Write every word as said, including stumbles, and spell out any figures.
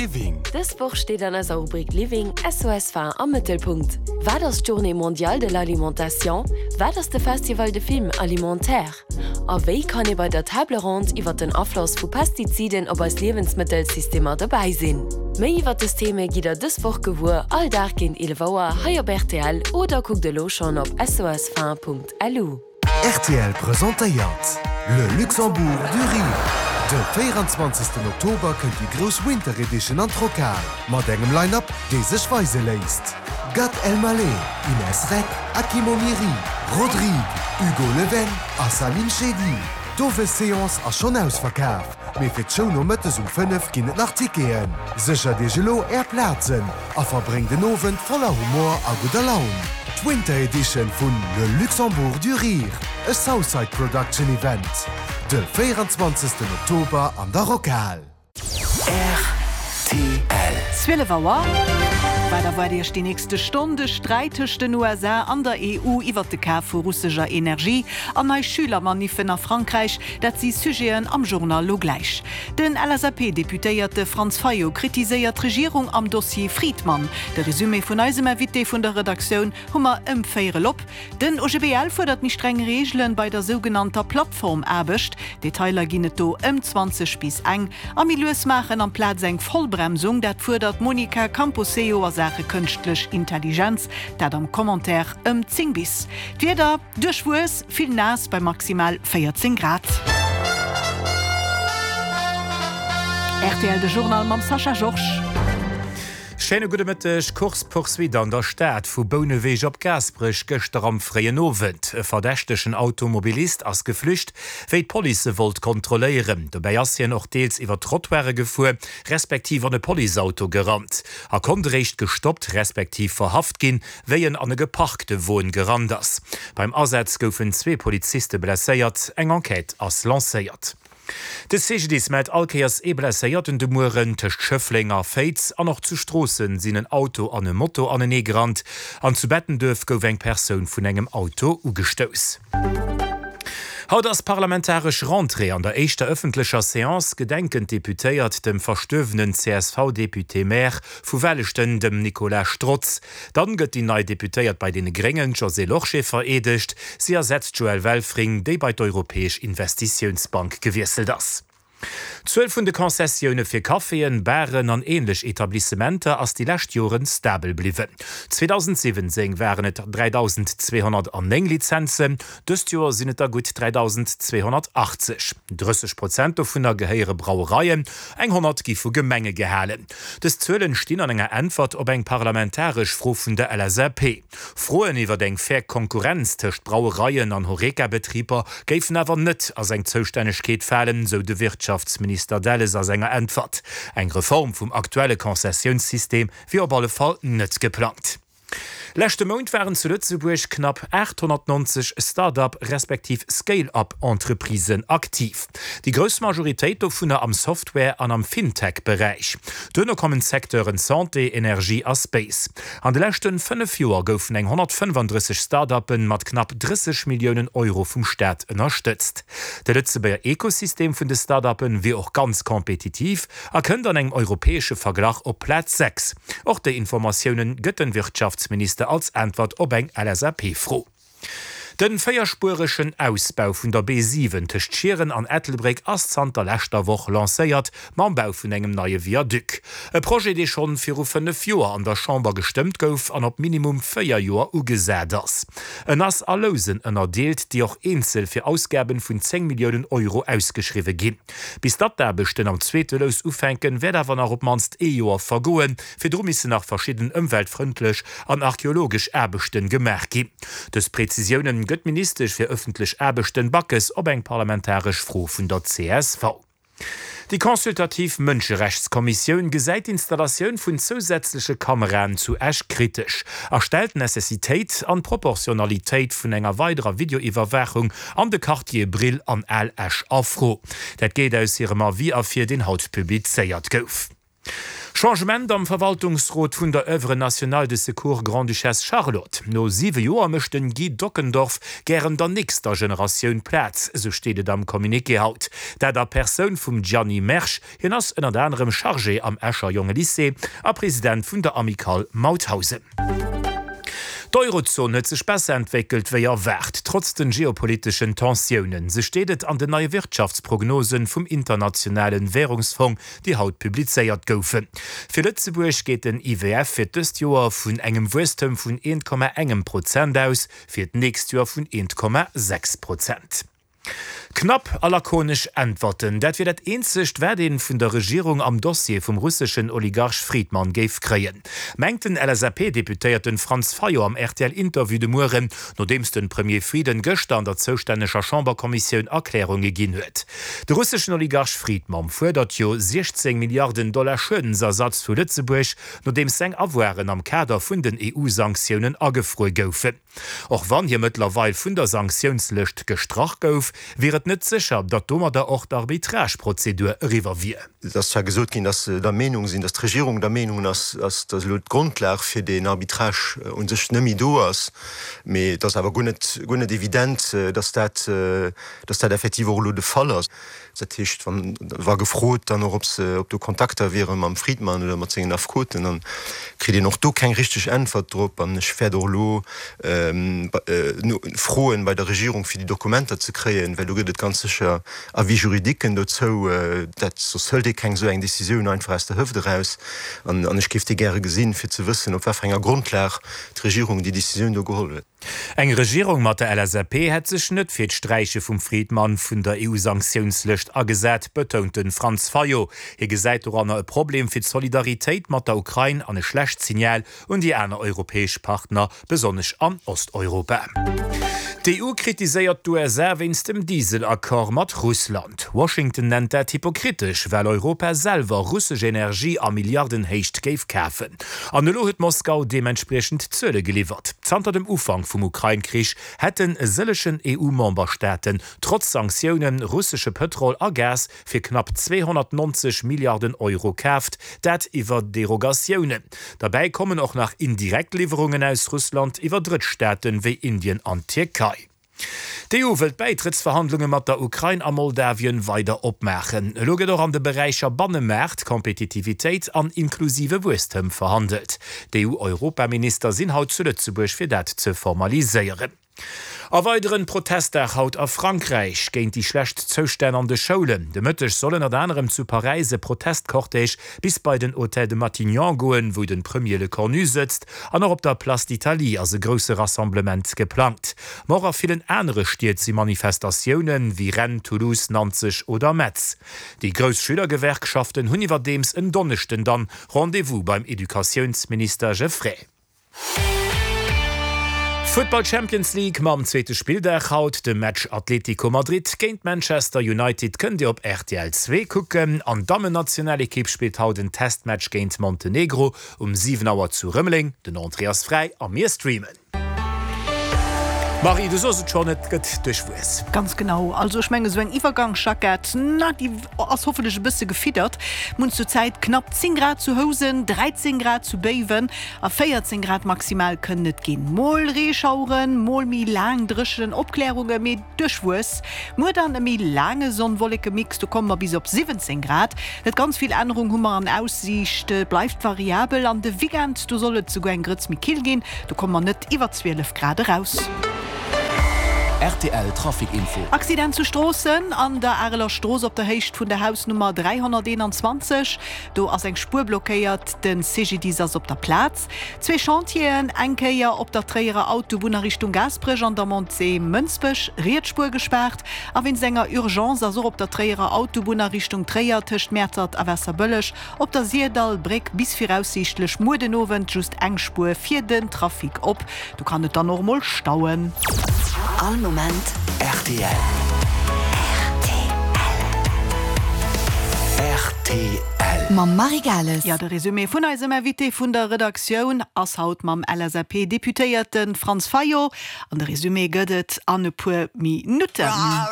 Living. Dës Woch steet an eiser Rubrik Living SOS Faim am Mëttelpunkt. Wat ass d'Journée mondiale de l'alimentation? Wat ass de Festival de film alimentaire? A wéi kann ee bei der Table ronde iwwer den Afloss vu Pestiziden op eis Liewensmëttelsystemer dobäi sinn? Méi iwwer dës Theme gitt der dës Woch gewuer, all Dag géint eelef Auer hei op rtl oder kuckt elo schonn op sosfaim.lu. Rtl presentéiert Le Luxembourg du Rire. De véieranzwanzegsten Oktober kënnt déi grouss Winter Edition an d'Rockhal mat engem Line-Up, dee sech weise léisst. Gad Elmaleh, Inès Reg, Akim Omiri, Rodrigue, Hugo Leven a Salim Chedi. D'Owesseance ass schonn ausverkaf, mee fir d'Show nomëttes um fënnef ginn et nach Ticketen. Séchert Iech elo Är Plazen a verbréngt en Owend voller Humor a gudder Laun. D'Winter Edition vun Le Luxembourg du Rire, e Southside Production Event. De véieranzwanzegsten Oktober an der Rockhal. Rtl. Zwielef Auer. Wat erwaart Iech déi nächste Stonn? De Sträit tëscht den U S A an der E U iwwer de Kaf vu russescher Energie an nei Schülermaniffen a Frankräich, dat si Sujeten am Journal lo gläich. Den L S A P-Deputéierte Franz Fayot kritiséiert d'Regierung am Dossier Friedmann. De Resumé vun eisem Invité vun der Redaktioun hu mer ëm véierel op. Den O G B L fuerdert méi streng Reegelen bei der sougenannter Plattformaarbecht. Detailer ginn et do ëm zwanzeg bis eng. A méi lues maachen amplaz eng Vollbremsung, dat fuerdert d'Monica Camposeo a Saache kënschtlech Intelligenz, dat am Commentaire ëm zéng bis. D'Wieder, duerchwuess, vill naass bei maximal véierzéng Grad. Rtl de Journal mam Sascha Georges. Schéine gudde Mëtteg. Course-poursuite an der Stad vu Bouneweg op Gaasperech gëschter am fréien Owend. E verdächtegen Automobilist ass geflücht, wéi d'Police e wollt kontrolléieren. Dobäi ass hien och deels iwwer d'Trottoire gefuer, respektiv an e Policeauto gerannt a konnt eréischt gestoppt respektiv verhaft ginn, wéi en an e geparkte Won gerannt ass. Beim Asaz goufen zwee Poliziste blesséiert, eng Enquête ass lancéiert. De C G D I S mellt all Kéiers ee Blesséierten de Mueren. Tëscht Schëffleng a Féiz an och zu Stroossen sinn en Auto an e Moto anenee gerannt an zu Bettenduerf gouf eng Persoun vun engem Auto ugestouss. Haut ass parlamentaresch Rentrée. An der éischter ëffentlecher Seance gedenken d'Deputéiert dem verstuerwenen C S V-Député-Maire vu Welleschten, dem Nicolas Strotz. Dann gëtt déi nei Deputéiert bei deene Gréngen, d'Josée Lorsché, vereedegt. Si ersetzt d'Joëlle Welfring, déi bei d'Europäesch Investitiounsbank gewiesselt ass. D'Zuel vun de Concessioune fir Caféen, Baren an änlech Etablissementer ass déi lescht Joren stabel bliwwen. zweedausendsiwwenzéng waren et dräidausendzweehonnertnéng Lizenzen, dëst Joer sinn et der gutt dräidausendzweehonnertachtzeg. drësseg Prozent dovunner gehéiere Brauereien, eng honnert gi vu Gemenge gehalen. Dës Zuelen stinn an enger Äntwert op eng parlamentaresch Fro vun der L S A P. Froen iwwer eng fair Konkurrenz tëscht Brauereien an Horeca-Betriber géifen awer net a seng Zoustännegkeet falen, sou de Wirtschaftsminister Delles a senger Äntwert. Eng Reform vum aktuelle Konzessiounssystem wier op alle Fall net geplangt. Leschte Mount waren zu Lëtzebuerg knapp aathonnertnonzeg Start-up respektiv Scale-up-Entreprisen aktiv. Déi grouss Majoritéit dovunner am Software an am Fintech-Beräich. Duerno kommen d'Secteuren Santé, Energie a Space. An de leschte fënnef Joer goufen eng honnertfënnefandrësseg Start-uppen mat knapp drësseg Milliounen Euro vum Staat ënnerstëtzt. De Lëtzebuerger Ekosystem vun de Start-uppen wier och ganz kompetitiv a kënnt an engem europäesche Verglach op Plaz sechs. Och déi Informatiounen gëtt de Wirtschaftsminister als Äntwert op eng L S A P-Fro. Den véierspueregen Ausbau vun der B siwen tëscht Schieren an Ettelbréck ass zanter leschter Woch lancéiert, mam Bau vun engem neie Viaduc. E Projet, dee schonn viru fënnef Joer an der Chamber gestëmmt gouf an op minimum véier Joer ugesat ass. En ass a Lousen ënnerdeelt, déi och eenzel fir Ausgaben vun zéng Milliounen Euro ausgeschriwwe ginn. Bis datt d'Aarbechten am zweete Lous ufänken, wäert awer nach op d'mannst ee Joer vergoen, virdru missen nach verschidden ëmweltfrëndlech an archeologesch Aarbechten gemaach ginn. Dës Prezisiounen gëtt d'Ministesch fir ëffentlech Aarbechten Backes op eng parlamentaresch Fro vun der C S V. Déi consultativ Mënscherechtskommissioun gesäit d'Installatioun vun zousätzleche Kameraen zu Esch kritesch a stellt d'Necessitéit an d'Proportionalitéit vun enger weiderer Videoiwwerwaachung an de Quartiere Brill an Al Esch a Fro. Dat geet aus hirem Avis ervir, deen haut publizéiert gouf. Changement am Verwaltungsrot vun der Oeuvre nationale de secours Grande-Duchesse Charlotte. No siwe Joer mécht den Guy Dockendorf gären der nächster Generatioun Plaz, esou steet et am Communiqué haut. Dat a Persoun vum Gianni Mersch, hien ass ënnert anerem Chargé am Escher Jongelycée a President vun der Amicale Mauthausen. D'Eurozon huet sech besser entwéckelt wéi erwaart, trotz den geopoliteschen Tensiounen. Sou steet et an den neie Wirtschaftsprognosen vum Internationalen Währungsfong, déi haut publizéiert goufen. Fir Lëtzebuerg geet den I W F fir dëst Joer vun engem Wuesstem vun eent Komma engem Prozent aus, fir d'nächst Joer vun eent Komma sechs Prozent. Knapp a lakonesch Äntwerten, dat wier dat eenzegt, wat ee vun der Regierung am Dossier vum russeschen Oligarch Fridman géif kréien, mengt den L S A P-Deputéierten Franz Fayot am R T L-Interview de Mueren, nodeems de Premier Frieden gëschter an der zoustänneger Chamberkommissioun Erklärunge ginn huet. De russeschen Oligarch Fridman fuerdert jo siechzéng Milliarden Dollar Schuedensersatz vu Lëtzebuerg, nodeems seng Avoiren am Kader vun den E U-Sanktiounen agefruer goufen. Och wann hie mëttlerweil vun der Sanktiounslëscht gestrach gouf, wier et net sécher, datt domadder och d'Arbitrageprozedur eriwwer wier. Et ass zwar gesot ginn, datt se der Meenung sinn, datt d'Regierung der Meenung ass, datt elo d'Grondlag fir deen Arbitrage u sech net méi do ass, mee et ass awer guer net, guer net evident, datt dat, datt dat effektiv och elo de Fall ass. Dat heescht, wann war gefrot dann och, ob se, ob do Kontakter wiere mam Fridman oder mat sengen Affekoten, dann kritt een och do keng richteg Äntwert drop. An ech wäert och elo froen bei der Regierung, fir déi Dokumenter ze kréien, well do gëtt et ganz sécher Avis-juridiquen dozou. Dat, soss hëlt ee keng esou eng Decisioun einfach aus der Hëft eraus. An ech géif déi gäre gesinn, fir ze wëssen, op wat fir enger Grondlag d'Regierung déi Decisioun do geholl huet. Eng Regierung mat der L S A P hätt sech net fir d'Sträiche vum Fridman vun der E U-Sanktiounslëscht agesat, betount de Franz Fayot. Hie gesäit doranner e Problem fir d'Solidaritéit mat der Ukrain an e schlecht Signal un déi aner europäesch Partner, besonnesch an Osteuropa. D'E U kritiséiert d'U S A wéinst dem Diesel-Accord mat Russland. Washington nennt dat hypokritesch, well Europa selwer russesch Energie a Milliardenhéicht géif kafen. An elo huet Moskau deementspriechend Zuele geliwwert. Zanter dem Ufank vum Ukrain-Krich hätten e sëllegen E U-Memberstaaten trotz Sanktioune russesche Pëtrol a Gas fir knapp zweehonnertnonzeg Milliarden Euro kaaft, dat iwwer Derogatiounen. Derbäi kommen och nach indirekt Liwwerungen aus Russland iwwer Drëttstaaten wéi Indien an d'Tierkei. D'E U wëllt d'Bäitrëttsverhandlunge mat der Ukrain a Moldawien weider opmaachen. Elo gëtt och an de Beräicher Bannemaart, Kompetitivitéit an inklusive Wuesstem verhandelt. D'E U-Europaminister sinn haut zu Lëtzebuerg fir dat ze formaliséieren. A weideren Protestdag haut a Frankräich géint déi schlecht Zoustänn an de Schoulen. De Mëtteg soll ënnert anerem zu Paräis e Protestcortège bis bei den Hôtel de Matignon goen, wou de Premier Lecornu sëtzt, an och op der Place d'Italie ass e grousse Rassemblement geplangt. Ma och a villen anere Stied si Manifestatiounen, wéi Rennes, Toulouse, Nanzeg oder Metz. Déi grouss Schülergewerkschaften hunn iwwerdeems en Donneschden dann Rendez-vous beim Educatiounsminister Geffray. Futtball Champions League mam zweete Spilldag haut, de Match Atlético Madrid géint Manchester United kënnt Dir op R T L zwee kucken. An d'Dammennationalekipp spillt haut en Testmatch géint Montenegro um siwen Auer zu Rëmeleng. Den Entrée ass fräi a mir streamen. Marie, du sos et schonn, et gëtt duerchwuess. Ganz genau. Also ech menge sou eng Iwwergangsjackett, na déi ass hoffentlech e bësse gefiddert. Mir hunn zur Zäit knapp zéng Grad zu Housen, dräizéng Grad zu Béiwen a véierzéng Grad maximal kënnen et ginn. Mol Reeschaueren, mol méi laang dréchen Opklärunge, mee duerchwuess. Muer dann e méi laange Sonn-Wolleke-Mix, do komme mer bis op siwwenzéng Grad. Net ganz vill Ännerung hu mer an Aussiicht, et bleift variabel an de Weekend, do soll et souguer eng Grëtz méi kill ginn, do komme mer net iwwer zwielef Grad eraus. R T L Trafic Info. Accident zu Stroossen an der Areler Strooss op der Héicht vun der Hausnummer dräihonnerteenanzwanzeg. Do ass eng Spuer blockéiert, de C G D I S ass op der Plaz. Zwee Chantieren, eng Kéier op der Tréierer Autobunn a Richtung Gaasperech an der Montée Mënsbech, riets Spuer gespaart. A wéinst enger Urgence ass och op der Tréierer Autobunn a Richtung Tréier tëscht Mäertert a Waasserbëlleg op der Syrdall-Bréck bis viraussiichtlech muer den Owend just eng Spuer fir den Trafic op. Do kann et dann och mol stauen. All Moment R T L. R T L. Mam Marie Gales. Jo, de Resumé vun eisem Invité vun der Redaktioun ass haut mam L S A P-Deputéierte Franz Fayot. An de Resumé gëtt et an e puer Minutten.